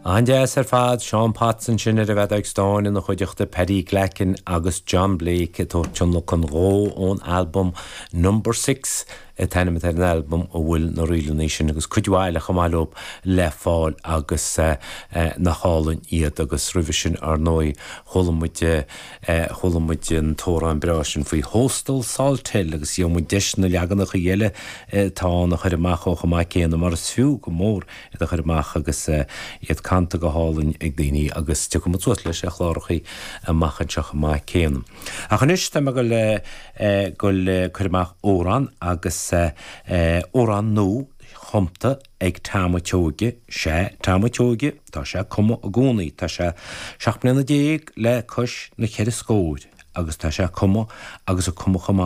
An-deas ar fad, Seán Potts ansin ar an bhfeadóig stáin ina chuideachta, Paddy Glackin agus John Blake ag tabhairt tionlacan dhó ón albam Number Six an t-ainm atá ar an albam a bhfuil na ríleanna sin agus cuid mhaith eile chomh maith leo le fáil agus nach álainn iad agus roimhe sin ar ndóigh chuala muid chuala muid an t-amhrán breá sin faoi Thóstal Salthill agus gheobhaidh muid deis na leaganacha eile atá ann a chur amach chomh maith céanna mar is fiú go mór iad a chur amach agus iad canta go hálainn ag daoine agus tiocfaidh muid suas leis ar chlárachaí amach anseo chomh maith céanna. Ach anois tá mé ag dul ag cur amach amhrán agus amhrán nua chumta ag Tom a' tSeoige, sea Tom a' tSeoige, tá sé ag cumadh i gcónaí, tá sé 17 mbliana le cois na ceithre scóir agus tá sé ag cumadh agus ag cumadh chomh maith.